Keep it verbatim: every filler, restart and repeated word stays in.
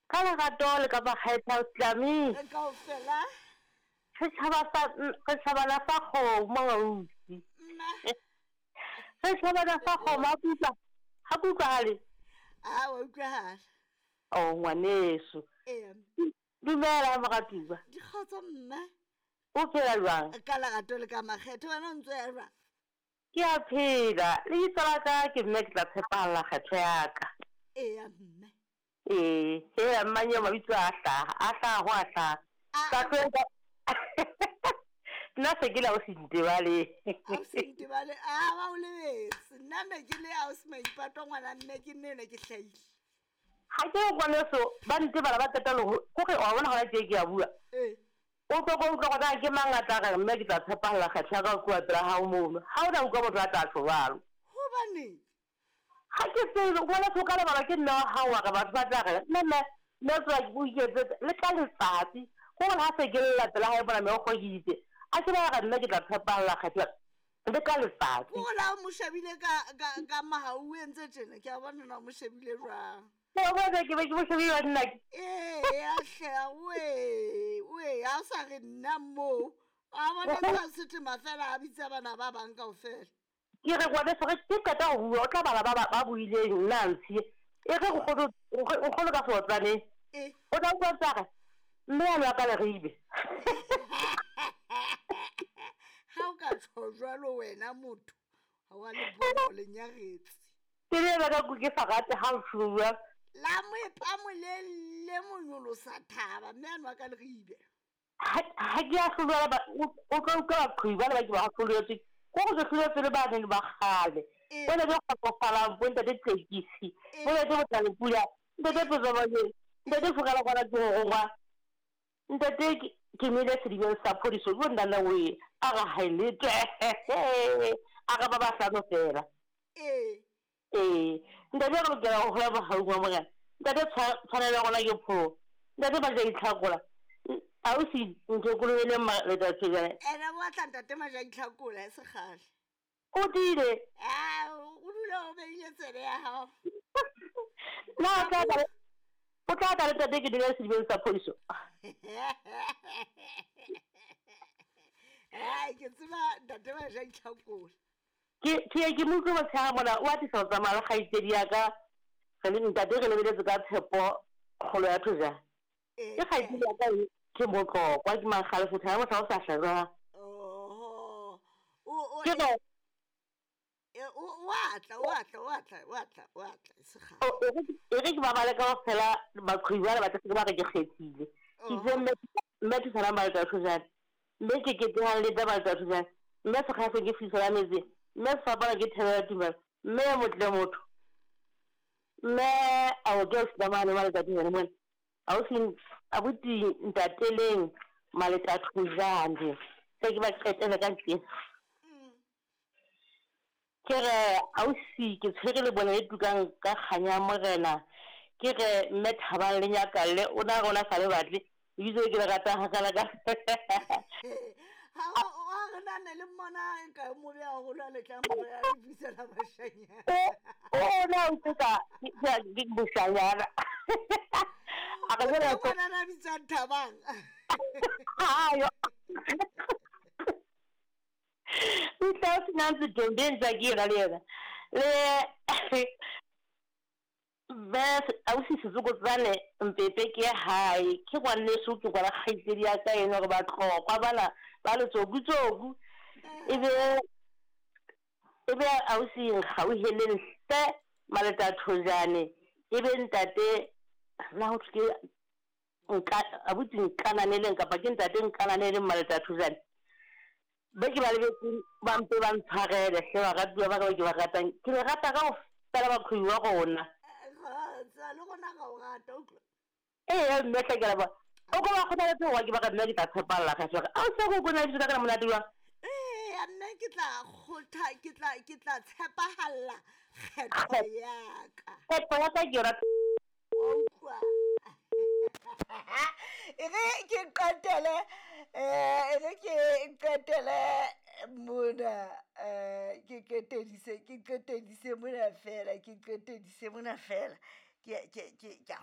Ka lerato le ka makgetha o Tlami. Re kaofela. Setjhaba sa setjhabana sa kgomo ausi. Mma. Setjhabana sa kgomo ha ke utlwa ha ke utlwahale. A wa utlwahala. Oh ngwaneso. Ee. Dumela moratuwa. Dikgotso mma. O phela jwang? Ka lerato le ka makgetho wena o ntso ya jwang? Ke a phela. Lebitso la ka ke mme ke tla tshepahalla kgetho ya ka. Eya mme. Ee, hela mmanyeo mabitso a hlaha, a hlaha ho a hlaha. Ka tlo nna se ke la o se ntebale. A o se ntebale, a ba o lebetse. Nna ne ke le ausi Maipato ngwana mme ke nne ne ke hlahile. Ha ke re ngwaneso ba ntebala ba qeta le ho kore wa bona hona tje ke a bua. Ee. O tlo ko utlwa gore ke mang a tla re mme ke tla tshepahalla kgetho ya ka ho tloha pela hao mono. Ha o na utlwa motho a tla tjho jwalo. Hobaneng? Ha ke tsebe ngwaneso o ka lebala ke mme wa hao wa re batho ba tla re mme mme mme tswa o iketsetse le ka letsatsi. Kore ha se ke lla pela hae mona meokgo ke itse. A ke ba re nna ke tla tshepahalla kgetho le ka letsatsi. Kore la o mo shebile ka ka ka mahau o entse tjena ke a bona na o mo shebile jwang. Ke a bona ke be ke mo shebile nna ke. Ee a hle oe oe ha o sa re nna moo. A bona tsa setema fela a bitsa bana ba bang kaofela. Ke re ngwaneso ge ke qeta ho bua o tla bala ba ba buileng nna a ntshiye. E re nkgono nkgono ka seotlaneng. Ee. O tla utlwa ntse a re mme a nwa ka leribe. Ha o ka tjho jwalo wena motho ha wa le bona o le nyaretse. Ke le ena ka ke sa rate ha o tjho. La moepa molelle monyolosa thaba mme a nwa ka leribe. Ha ha ke a hlolwa ba o tlo utlwa baqhubi bana ba ke ba hloletswe. Ko go hloletswe le ba neng ba kgale. Bona ke kgotsofalang bo ntate Tekisi. Bo ntate Motlalepula, ntate Potsamane, ntate Fokala kwana ke ho rongwa. Ntate ke mele sedibeng sa phodiso bo nna we a ga haelete. A ga ba ba hlano fela. Ee. Ee, ntate re lokela ho hola mohaung wa Morena. Ntate tshwanelo ya rona ke pholo. Ntate ba ja itlhakola. Ausi ntokolobele letsatsi jane. Ene wa tla ntate Maja itlhakola e se kgale. O tiile. Ah, o dula o beile tsebe ya hao. Na o tla tla o tla tla le ntate ke dula sedibeng sa phodiso. Ai ke tseba ntate Maja itlhakola. Ke ke ke mo utlwe motshehare mona o atisa ho tsamaya le kgaitsedi ya ka. Re le ntate re lebeletse ka tshepo kgolo ya thojana. Ke kgaitsedi ya ka ke motlokwa ke mankgale fotho ha motho o sa hlajwa. Oho. O o Ke re e o wa tla wa tla wa tla wa tla wa tla se kgale. E re ke ba bale kaofela baqhubi bana ba tla se ba re ke kgethile. Ke itse mme mme thusanang ba letsa thojana. Mme ke ketehang le taba tsa thojana. Mme sekgahla ke fiso ya metsi. Mme sefapano ke thebe ya tumelo. Mme ya motle motho. Mme a o ke o mane maletsa thojana mona. Ausi abuti ntateleng maletsa thojane. Se ke ba qetela ka ntle. Ke re ausi ke tshwere le bona e tukang ka kganya ya Morena. Ke re mme Thabang le Nyakalle o na rona sa le batle. Ebitso ke le ratang hakana ka. Ha o re na ne le mmona ka mo beha haholo a le tla mo beha le bisela bashanyana. O na o tsa ke boshanyana. A re jwale O ngwana na bitswang Thabang. Ayo. O tla o sena ntse Dombe ntse ke yena le yena. Le be ausi Setsokotsane Mpepe ke hae ke ngwaneso ke ngwana kgaitsedi ya ka ena hore ba tlokwa bana ba letsokutsoku. Ebe ebe ausi Nkgauheleng hle Maleta Thojane ebe ntate na ho ke nka abuti nkananeleng kapa ke ntate nkananeleng Maleta Thojane. Be ke ba lebetse ba mpe ba ntshwarele hle baratuwa ba ka ba ke ba ratang. Ke le rata kaofela baqhubi wa rona. Kgotsa le rona ra o rata utlwa. Ee mme hle ke a leboha. O ko ba kgothaletse hore ke ba ka nna ke tla tshepahalla kgetho ya ka. Ausi o ko na lebitso la ka le monate jwang? Ee, nna ke tla kgotha ke tla ke tla tshepahalla kgetho ya ka. Kgetho ya ka ke yona. Wa utlwa. E re ke qetele eh e re ke qetele mona eh ke qetedise ke qetedise mona fela ke qetedise mona fela ke ke ke ke a